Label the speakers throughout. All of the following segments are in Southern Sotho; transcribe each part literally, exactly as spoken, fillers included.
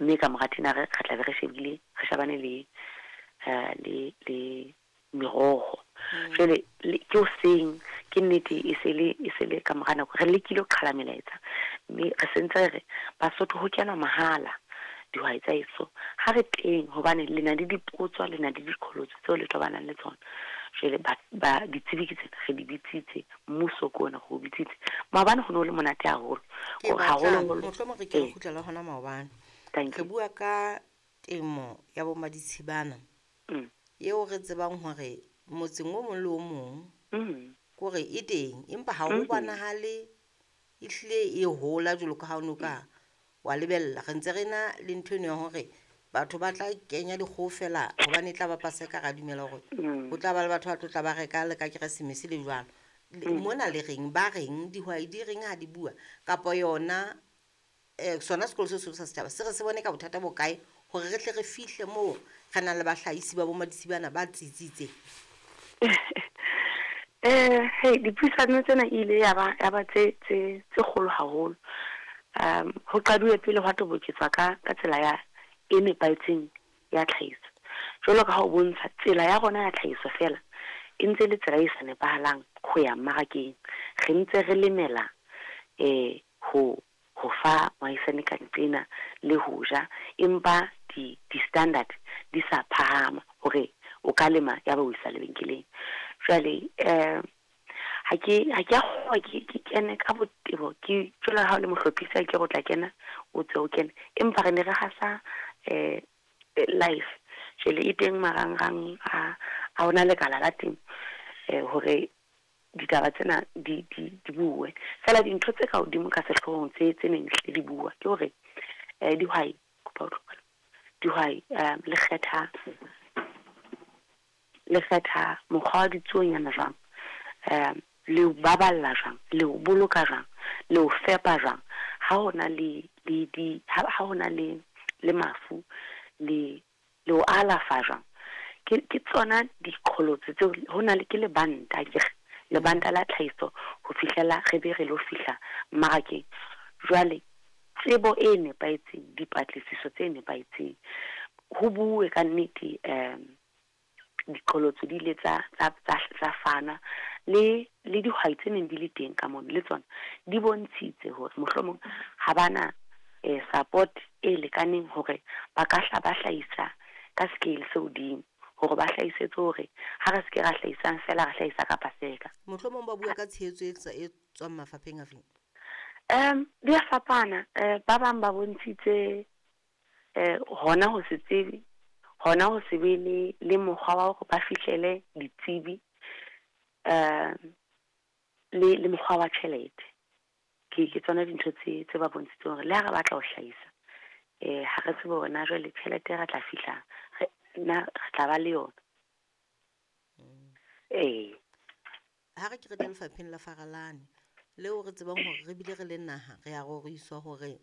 Speaker 1: Mme ka mora thinare re tla be re shebile, re shebane le eh le le meroho. Jwale ke hoseng, ke nnete e se le e se le ka mora nako. Re lekile ho qhala melaetsa mme re sentse re re Basotho ho kenwa mahala dihwai tsa heso. Ha re teng hobane le na le dipotso, le na le diqholotso tseo le tobanang le tsona. Jwale ba ba ditsebi ke tsena re di bitsitse, mmuso ke ona re o bitsitse. Maobane ho no le monate haholo.
Speaker 2: Ke
Speaker 1: Hore
Speaker 2: batlang
Speaker 1: haholoholo
Speaker 2: mohlomong re ke re
Speaker 1: ee.
Speaker 2: kgutlela hona maobane.
Speaker 1: Thank
Speaker 2: Re
Speaker 1: you.
Speaker 2: bua ka temo ya bo maditshibana
Speaker 1: Mm.
Speaker 2: eo re tsebang hore motseng o mong le o mong
Speaker 1: Mm.
Speaker 2: kore e teng, empa ha ho
Speaker 1: Mhm.
Speaker 2: bonahale ehlile e hola jwalo ka ha o no ka wa lebella. Re ntse re na le ntho eno ya hore batho ba tla kenya dikgoho feela hobane e tla ba Paseka, ra dumela hore
Speaker 1: Mm.
Speaker 2: ho tla ba le batho ba tlo tla ba reka le ka Keresemese le jwalo. Le-
Speaker 1: Mm.
Speaker 2: Mona le reng, ba reng dihwai di reng ha di bua kapa yona eh sona sekolo se seholo sa setjhaba se re se bone ka bothata bo kae hore re tle re fihle moo re nang le bahlahisi ba bo maditsibana ba tsitsitseng?
Speaker 1: Eh hey, dipuisano tsena e ile ya ba ya ba tse tse tse kgolo haholo. Um ho qaduwe pele hwa toboketswa ka ka tsela ya e nepahetseng ya tlhahiso. Jwalo ka ha o bontsha tsela ya rona ya tlhahiso feela e ntse le tsela e sa nepahalang ho ya mmarakeng. Re ntse re lemela eh ho ho fa moahisani ka nqena le ho ja, empa di di standard di sa phahama hore o ka lema ya ba o isa lebenkeleng. Jwale eh ha ke ha ke a kgolwa ke ke kene ka botebo, ke jwalo ha o le mohlophisi ke re o tla kena o tswe o kene, empa re ne re hasa eh live. Jwale e teng marangrang a a ona lekala la temo eh hore ditaba tsena di di di bue. Feela dintho tse ka hodimo ka sehloohong tse tse neng hlile di bua ke hore eh dihwai, kopa ho tlohela dihwai eh le kgetha le kgetha mokgwa wa ditsuonyana jwang, eh le o baballa jwang, le o boloka jwang, le o fepa jwang. Ha hona le le di ha ha hona le le mafu, le le o alafa jwang. Ke ke tsona diqholotso tseo hona le ke lebanta akere, lebanta la tlhahiso ho fihlela re be re lo fihla mmarakeng. Jwale tsebo e nepahetseng, dipatlisiso tse nepahetseng, ho bue ka nnete um diqholotso di ile tsa tsa tsa tsa fana le le dihwai tse neng di le teng ka mono le tsona di bontshitse hore mohlomong ha bana eh support e lekaneng hore ba ka hla ba hlahisa ka scale se hodimo, hore ba hlahisetse hore ha re se ke ra hlahisang feela re hlahisa ka Paseka.
Speaker 2: Mohlomong ba bua ka tshehetso e tsa- e tswang mafapheng a feng?
Speaker 1: Um di a fapana, eh ba bang ba bontshitse eh hona ho se tsebe, hona ho se be le le mokgwa wa hore ba fihlele ditsebi, um le le mokgwa wa tjhelete. Ke ke tsona dintho tse tse ba bontshitseng hore le ha re batla ho hlahisa eh ha re tsebe hore na jwale tjhelete re tla fihla re na re tla ba le yona. Ee.
Speaker 2: Ha re ke re tle lefapheng la Faralane leo re tsebang hore re bile re le naha, re a roriswa hore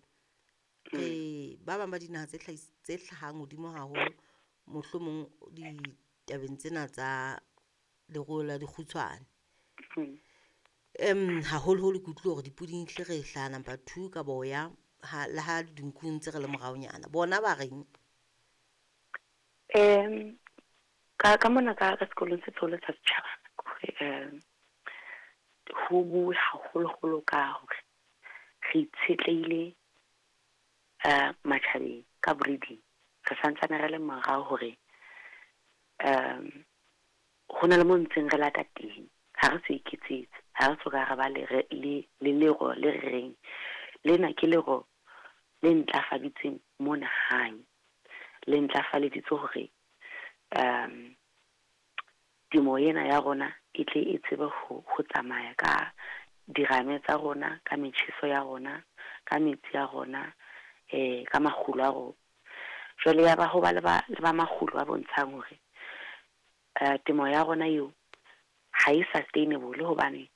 Speaker 2: re ba bang ba dinaha tse hlahis tse hlahang hodimo haholo mohlomong ditabeng tsena tsa leruo la dikgutshwane.
Speaker 1: Mm.
Speaker 2: Em haholoholo ke utlwile hore dipuding hle re hlaha number two ka boya ha le ha dinku ntse re le moraonyana. Bona ba reng?
Speaker 1: Um ka ka mona ka ka sekolong se seholo sa setjhaba hore um ho bue haholoholo ka hore re itshetlehile eh matjhabeng ka breeding. Re santsane re le morao hore um ho na le mo ntseng re lata teng, ha re so iketsetse, ha re soka re ba le re le le lero le re reng lena ke lero le ntlafaditsweng mona hae, le ntlafaditse hore um temo ena ya rona e tle e tsebe ho ho tsamaya ka dirame tsa rona, ka metjheso ya rona, ka metsi a rona, eh ka makgulo a rona. Jwale ya ba ho ba le ba le ba makgulo a bontshang hore eh temo ya rona eo ha e sustainable hobane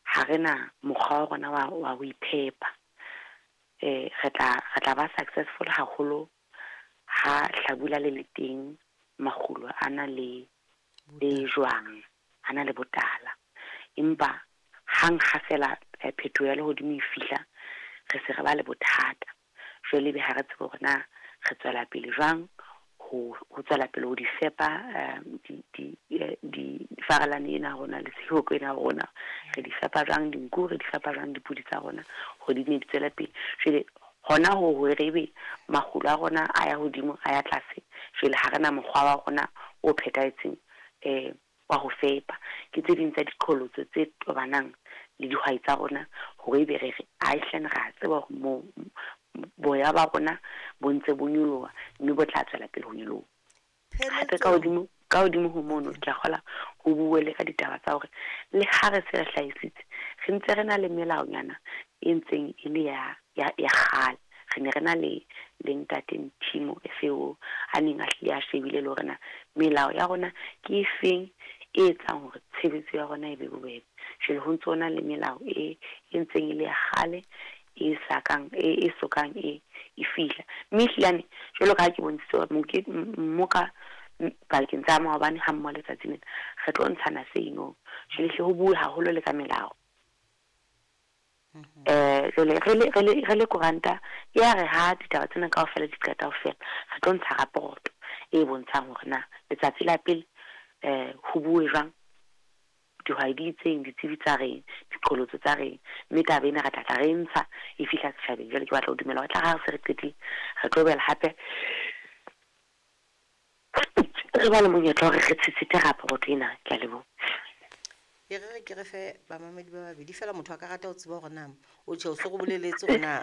Speaker 1: ha rena mokgwa wa rona wa wa ho iphepa. Eh re tla re tla ba successful haholo ha hlabula le le teng, makgulo a na le le jwang, a na le botala. Empa hang ha fela phetoho ya lehodimo e fihla, re se re ba le bothata. Jwale ebe ha re tsebe hore na re tswela pele jwang ho ho tswela pele ho di fepa di di di farelane ena rona le sehoko ena rona re di fepa jwang dinku, re di fepa jwang dipudi tsa rona hore di ne di tswele pele. Jwale hona ho hore ebe makgulo a rona a ya hodimo a ya tlase, jwale ha rena mokgwa wa rona o phethahetseng eh wa ho fepa. Ke tse ding tsa diqholotso tse tobanang le dihwai tsa rona hore ebe re re ae hle re a tseba hore mo boya ba rona bo ntse bo nyoloha mme bo tla tswela pele ho nyoloha. Hape ka hodimo ka hodimo ho mono ke a kgola ho bue le ka ditaba tsa hore le ha re se re hlahisitse re ntse re na le melaonyana e ntseng e le ya ya ya kgale. Re ne re na le le ntate Nthimo F A O a neng a hlile a shebile le hore na melao ya rona ke efeng e etsang hore tshebetso ya rona e be bobebe. Jwale ho ntso na le melao e e ntseng e le ya kgale e sa kang e e sokang e e fihla. Mme ehlilane jwalo ka ha ke bontshitse hore moke mmoka pakeng tsa maobane ha mmoho letsatsi lena re tlo ntshana seno. Jwale hle ho bue haholo le ka melao. Eh jwale re le re le re le koranta ya re ha ditaba tsena kaofela di qeta ho fela, re tlo ntsha raporoto e bontshang hore na letsatsi la pele eh ho bue jwang, dihwai di itseng, ditsebi tsa reng, diqholotso tsa reng, mme taba ena re tla tla re ntsha e fihla setjhabeng. Jwale ke batla ho dumela hore tla ha re se re qetile re tlo boela hape re ba le monyetla hore re tshetshete raporoto ena. Ke a leboha.
Speaker 2: E re re ke re fe bamamedi ba babedi fela motho a ka rata ho tseba hore na o tjhe o so re boleletse hore na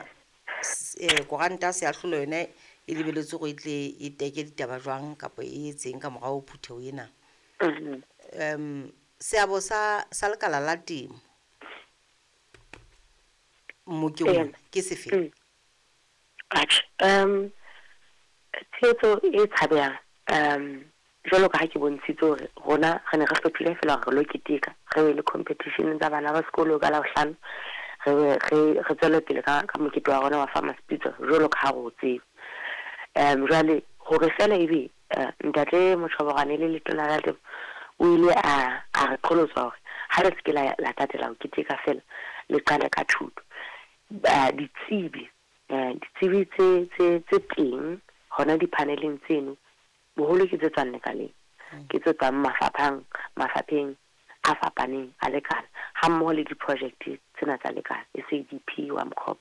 Speaker 2: eh koranta Seahlolo yona e lebelletswe hore e tle e teke ditaba jwang kapa e etseng ka morao ho phutheho ena. Um seabo sa sa lekala la temo mmokeng ona ke sefe?
Speaker 1: Atjhe, um tshehetso e tshabehang um jwalo ka ha ke bontshitse hore rona re ne re hlophile feela hore re lo keteka, re be le competition tsa bana ba sekolo ka Labohlano, re be re re tswele pele ka ka mokete wa rona wa Farmers Pitso jwalo ka ha re o tseba. Um jwale hore feela ebe ntate Motjhoborane le letona la temo o ile a a re qholotsa hore ha le se ke la la tatela ho keteka feela le qale ka thuto. Ditsebi ditsebi tse tse tse teng hona di-panel-eng tseno boholo ke tse tswang lekaleng, ke tse tswang mafaphang mafapheng a fapaneng a lekala ha mmoho le di-project tsena tsa lekala S A D P, WAMCOP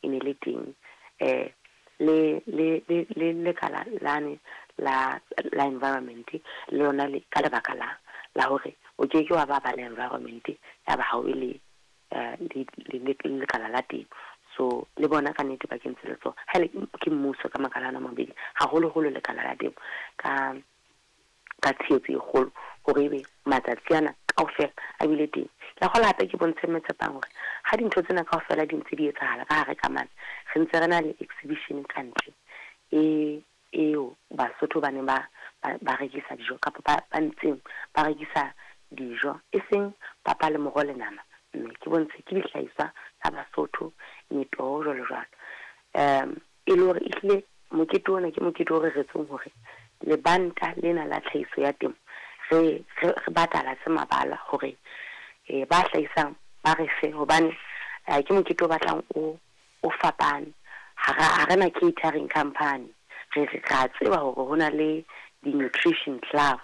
Speaker 1: e ne le teng eh le le le le lekala lane la la environment le lona le ka lebaka la la hore o ke ke wa ba ba le environment ya ba ha o be le le le lekala la temo. So le bona ka nnete ba kentse letsoho ha le ke mmuso ka makala ana a mabedi, haholoholo lekala la temo ka ka tshehetso e kgolo hore ebe matsatsi ana kaofela a bile teng. Ke a kgolwa hape ke bontshe Mme Tshepang hore ha dintho tsena kaofela di ntse di etsahala ka hare ka mane, re ntse re na le exhibition ka ntle e eo Basotho ba neng ba ba rekisa dijo kapa ba ba ntseng ba rekisa dijo, e seng papa le moroho le nama, mme ke bontshe ke dihlahiswa tsa Basotho, metoho jwalo jwalo. Um e le hore ehlile mokete ona ke mokete o reretsweng hore lebanta lena la tlhahiso ya temo re re re batalatse mabala hore eh ba hlahisang ba re fe, hobane ke mokete o batlang o o fapane. Ha ha rena catering company, re re a tseba hore hona le di-nutrition club,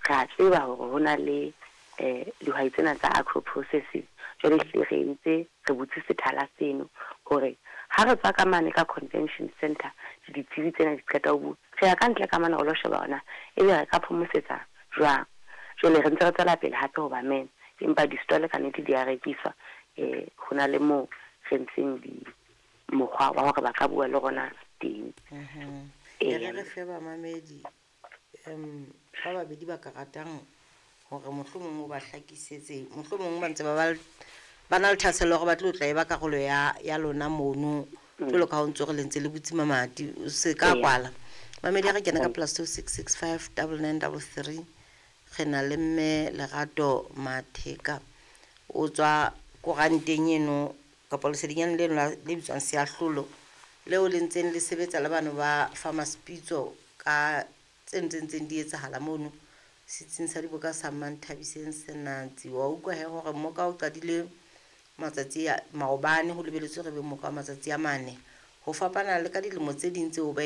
Speaker 1: re a tseba hore hona le eh dihwai tsena tsa agro processing. Jwale ehlile re entse re butse sethala seno hore ha re tswa ka mane ka convention center, ditsebi tsena di qeta ho bua, re ya ka ntle ka mane re lo sheba hore na ebe re ka phomosetsa jwang. Jwale re ntse re tswela pele hape ho ba mema, empa di-stall ka nnete di a rekiswa. Eh ho na le moo re ntseng di mokgwa wa hore ba ka bua le rona teng.
Speaker 2: E re re fe bamamedi um ba babedi ba ka ratang hore mohlomong o ba hlakisetse, mohlomong ba ntse ba ba ba na le thahasello hore ba tlo tla e ba karolo ya ya lona mono jwalo ka ha o ntso re le ntse le butse mamati o se ka kwala. Mamedi, ha re kena ka plus two six six five double nine double three, re na le mme Lerato Matheka o tswa koranteng eno kapa lesedinyane leno le bitswang Seahlolo leo le ntseng le sebetsa le bano ba Farmers Pitso ka tse ntseng di etsahala mono setsing sa diboka sa Manthabiseng Senatsi. Wa utlwa he hore mmoka o qadile matsatsi a maobane, ho lebelletswe re be mmoka wa matsatsi a mane Ho fapana le ka dilemo tse ding tseo ba